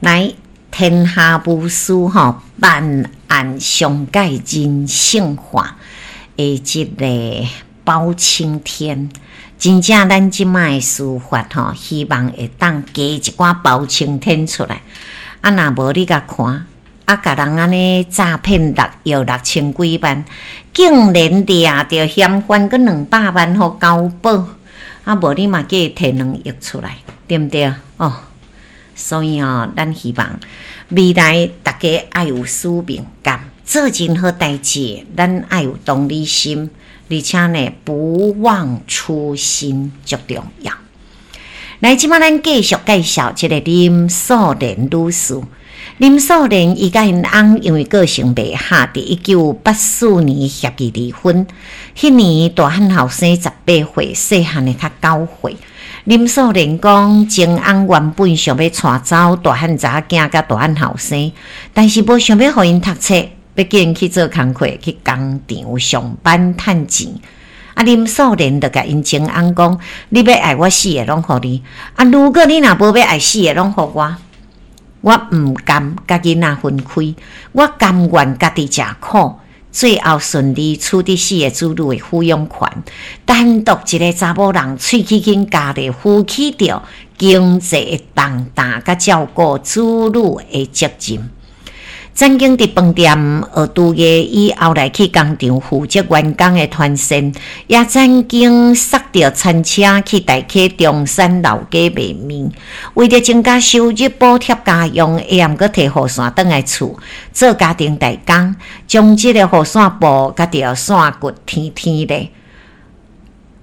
來，天下無事吼，辦案上蓋人性化的這个包青天，真正咱這擺的司法吼，希望會當加一寡包青天出來。啊，若無你共看，啊，共人按呢詐騙6億6千幾萬，竟然掠著嫌犯閣200萬予交保，啊，無你嘛叫伊提2億出來，對毋對？哦，所以哦，咱希望未來逐家愛有使命感，做任何代誌，咱愛有同理心，而且呢，不忘初心足重要。來，這擺咱繼續介紹這个林素蓮女士。林素蓮伊佮𪜶翁因為個性袂合，佇1984年協議離婚。彼年大漢後生18歲，細漢的較9歲。林素蓮講，前翁原本想欲帶走大漢查某囝佮大漢後生，但是無想欲予𪜶讀冊，欲叫𪜶去做工課，去工廠上班趁錢。啊，林素蓮就共𪜶前翁講：你欲愛我四个攏予你，啊，如果你若無欲愛四个攏予我，我毋甘佮囡仔分開，我甘願家己食苦，最後順利取得四个子女的撫養權，單獨一个查某人，喙齒緊咬咧，負起著經濟的重擔，佮照顧子女的責任。曾經佇飯店學廚藝，以後來去工廠負責員工的團膳，也曾經駛著餐車去大溪中山老街賣麵，為著增加收入補貼家用，會猶閣提雨傘轉來厝做家庭代工，將這个雨傘布佮著線骨天天咧。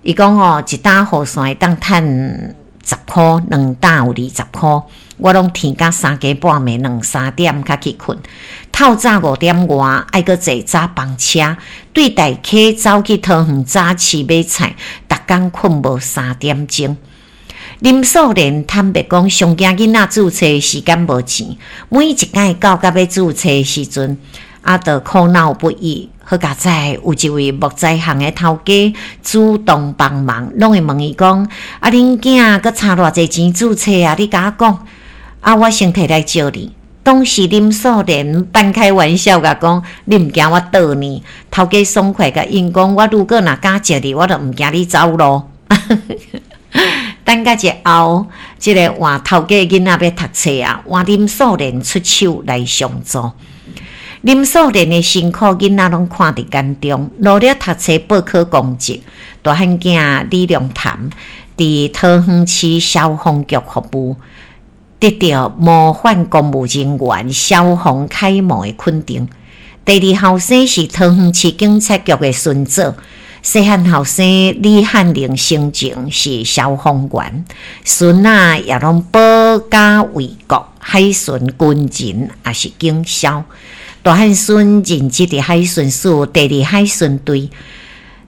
伊講哦，一擔雨傘會當趁10箍，兩擔有20箍。我攏天到三更半暝兩三點才去睏，透早5點外愛閣坐早班車，對大溪走去桃園早市買菜，逐工睏無3點鐘。林素蓮坦白講，上驚囡仔注冊時間無錢，每一擺到甲欲注冊時陣，啊，就苦惱不已。好佳哉，有一位木材行的頭家主動幫忙，攏會問伊講：啊，恁囝閣差偌濟錢注冊啊？你共我講，啊，我先提來借你。當時林素蓮半開玩笑共講：你毋驚我倒呢？頭家爽快共應講：我如果若敢借你，我就毋驚你走咯。等甲日後，這个換頭家囡仔欲讀冊啊，換林素蓮出手來相助。林素蓮的辛苦，囡仔攏看佇眼中，努力讀冊報考公職。大漢囝李良潭佇桃園市消防局服務，得到模範公務人員消防楷模的肯定。第二後生是桃園市警察局的巡佐，細漢後生李漢玲生前是消防員，孫仔也攏保家衛國，海巡軍人也是警消。大漢孫任職佇海巡署第二海巡隊，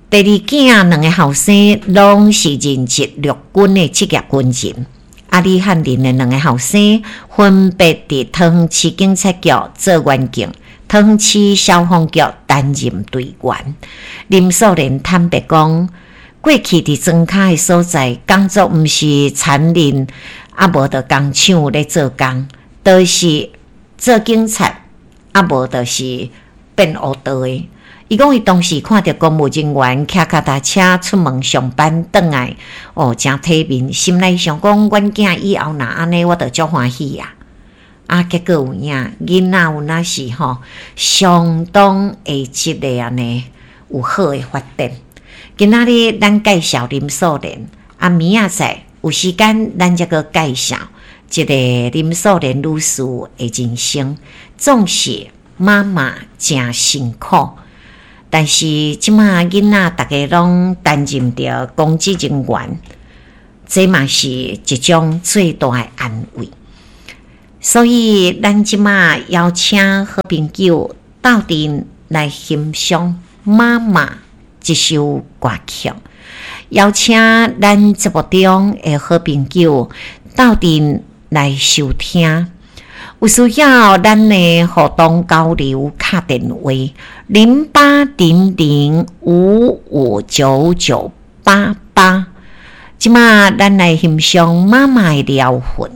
第二囝兩個後生攏是任職陸軍的職業軍人。啊，李漢林的兩個後生分別佇桃園市警察局做員警，桃園市消防局擔任隊員。林素蓮坦白講，過去佇莊跤的所在工作，毋是田林，啊無就工廠咧做工，都是做警察。啊，無就是變烏道的。伊講伊當時看著公務人員騎腳踏車出門上班，轉來哦，誠體面，心內想講，阮囝以後若按呢，我就足歡喜啊！啊，結果有影，囡仔有若是吼，相當的這个按呢有好的發展。今仔日咱介紹林素蓮，啊，明仔載有時間咱才閣介紹。這个林素蓮女士的人生，總是媽媽誠辛苦，但是這馬囡仔逐家攏擔任著公職人員，這嘛是一種最大的安慰。所以，咱這馬邀請好朋友鬥陣來欣賞媽媽這首歌曲，邀請咱節目中的好朋友鬥陣來收聽，有需要咱的互動交流，敲電話0800559988。這馬咱來欣賞媽媽的療魂。